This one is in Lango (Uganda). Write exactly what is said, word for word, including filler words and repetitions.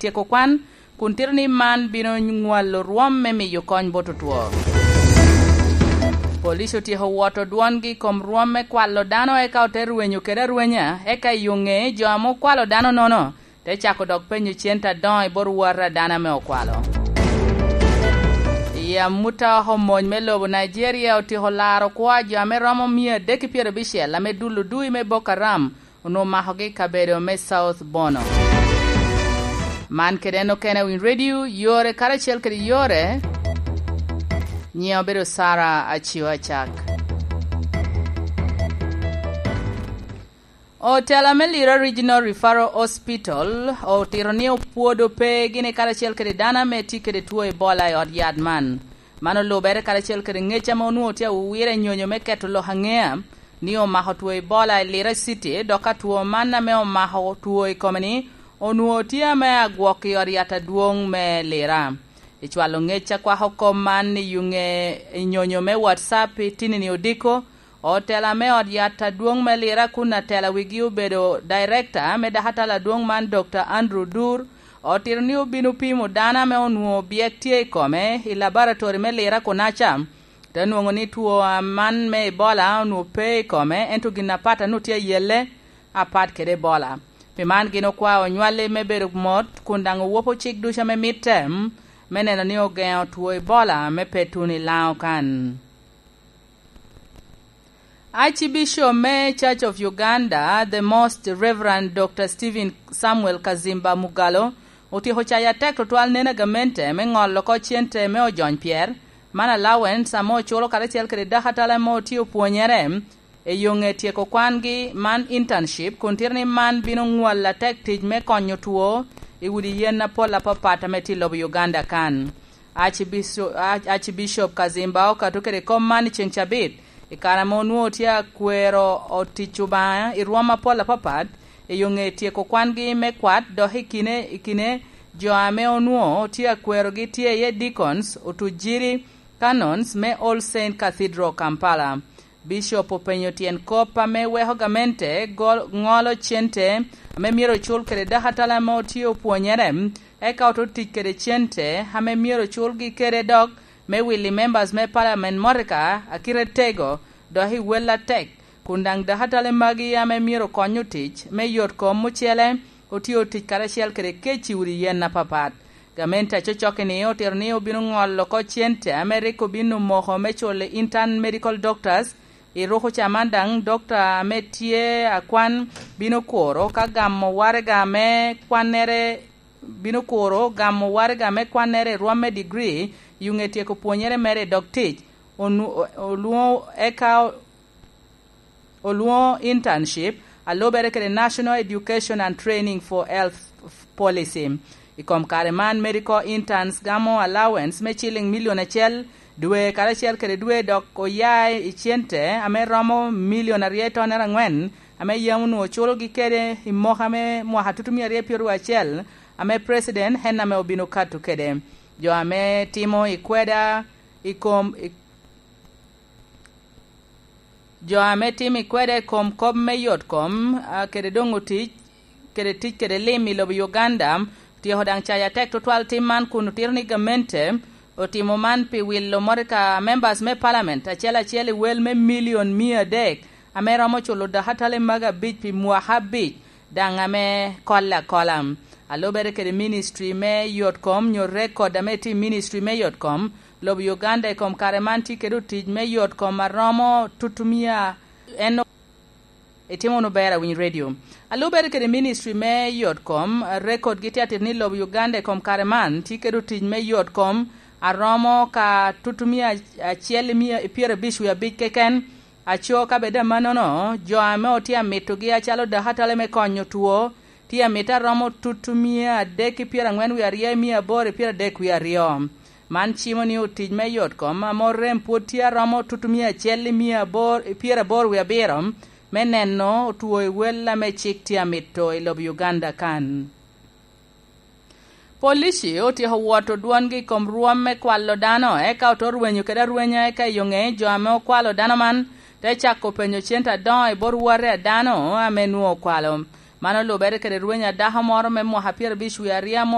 tyeko kwan, kun tito ni man bino nywalo rwom me miyo kony bot otwo. Police otyeko woto dwongi i kom rwom me kwalo dano, eka ote rwenyo kede arwenya, eka i yo ŋe jo ame okwalo dano nono te cako dok penyo cente adoŋo i bot wot a dano ame okwalo. I amut a oko, mony me lobo Nigeria otyeko laro kwo a jo ame romo mia adek ki pyerabicel ame dul odui me Boko Haram onwoŋo makogi i kabedo me South Bono. Man kede en okene i Winy Radio, yore karacel kede yore. Nyiŋa obedo Sara Acio Acak. Otela me Lira Regional Referral Hospital otito ni opwodo pe gini karacel kede dano ame tye kede two Ebola i ot yat man. Man olubere karacel kede ŋec ame onwoŋo tye awira i nyonyo me keto lok aŋea ni omako two Ebola i Lira City, dok ka two man ame omako two i kome-ni onwoŋo tye ame agwok i ot yat adwoŋ me Lira. I cwalo ŋec a kwako kop man i yuŋe i nyonyo me WhatsApp i tinini odiko, otela me ot yat adwoŋ me Lira kun atela wigi obedo director me dakatala adwoŋ man, Doctor Andrew Dur, otito ni obino pimo dano ame onwoŋo byek tye i kome i laboratori me Lira kunaca, te nwoŋo ni two man me Ebola onwoŋo pe i kome, ento gin apat a nwoŋo tye ayelle apat kede Ebola. Pi man gin okwao onywalli me bedo mot kun daŋ owopo cik ducu ame mitte, me neno ni ogeŋo two Ebola me pe tuno i Laŋo kan. Archbishop me Church of Uganda, the Most Reverend Doctor Stephen Samuel Kazimba Mugallo, otyeko cayo atek tutwal nen a gamente me ŋolo oko cente me ojony pyer, man allowance ame oculo karacel kede dakatala ame otye opwonyere i yo ŋe tyeko kwangi, man internship, kun tito ni man bino ŋwalo atek tic me konyo two i udi yen apol apapat ame tye i lobo Uganda kan. Archbishop, Archbishop Kazimba okato kede kop man i ceŋ cabit, i kare ame onwoŋo tye akwero otic Obaŋa i rwom apol apapat, i yo ŋe tyeko kwangi me kwat, dok i kine, i kine jo ame onwoŋo tye akwerogi tye iye deacons, otujiri, canons me All Saint Cathedral, Kampala. Bishop openyo tyen kop ame weko gamente gol-, ŋolo cente ame myero ocul kede dakatala ame otye opwonyere, eka oto tic kede cente ame myero ocul gi kede dok me wili members me parliament motoka a kite tego, dok i wel atek, kun daŋ dakatale magi ame myero kony otic me yot kom ocele otye otic karacel kede kec i udi yen apapat. Gamente acocokki-ni otito ni obino ŋolo oko cente ame rik obin omoko me culo intern medical doctors. I ruko ca man daŋ, dokta ame tye akwan bino kuro ka gamo waraga me kwannere, bino kuro gamo waraga me kwannere i rwom me degree, i ŋe tyeko pwonyere mere i dog tic, onu-, olwoŋo eka olwoŋo internship, a lubere kede National Education and Training for Health Policy. I kom kare man, medical interns gamo allowance me ciliŋ milion acel dwe karacel kede dwe, dok oya i cente ame romo milion aryo i tonere aŋwen, ame yam onwoŋo culogi kede i moka me mwaka tutumia aryo pyeraryo acel, ame president en ame obino kato kede. Jo ame timo i kweda i kom, i Jo ame timo i kweda i kom kop me yot kom, a, kede doŋ otic, kede tic kede lim i lobo Uganda, otyeko daŋ cayo atek tutwal tim man kun otito ni gamente otimo man pi wilo motoka members me parliament acel acel i wel me milion mia adek, ame romo culo dakatale maga abic pi mwaka abic, daŋ ame kolle akola. A lubere kede ministry me yot kom nyo record ame tye i ministry me yot kom, lobo Uganda i kom kare man tye kede otic me yot kom a romo tutumia en o-, itimo wunu ber awiny radio. A lubere kede ministry me yot kom, record gi tye atit ni lobo Uganda i kom kare man tye kede otic me yot kom a romo ka tutumia acel i mia, i pyerabic wie abic keken. Aco ka bed amannono, jo ame otye amitogi acalo dakatale me konyo two, tye amito aromo tutumia adek ki pyeraŋwen wie aryo i mia aboro i pyeradek wie aryo. Man cimo ni otic me yot kom ame orem pwod tye aromo tutumia acel i mia aboro i pyeraboro wie abiro, me neno otwo i wel ame cik tye amito i lobo Uganda kan. Polici otyeko woto dwongi i kom rwom me kwalo dano, eka oto rwenyo kede arwenya, eka i yo ŋe jo ame okwalo dano man te cako penyo cente adoŋo i bot wate a dano ame nwoŋo okwalo. Man olubere kede rweny a dako moro me mwaka pyerabic wie aryo ame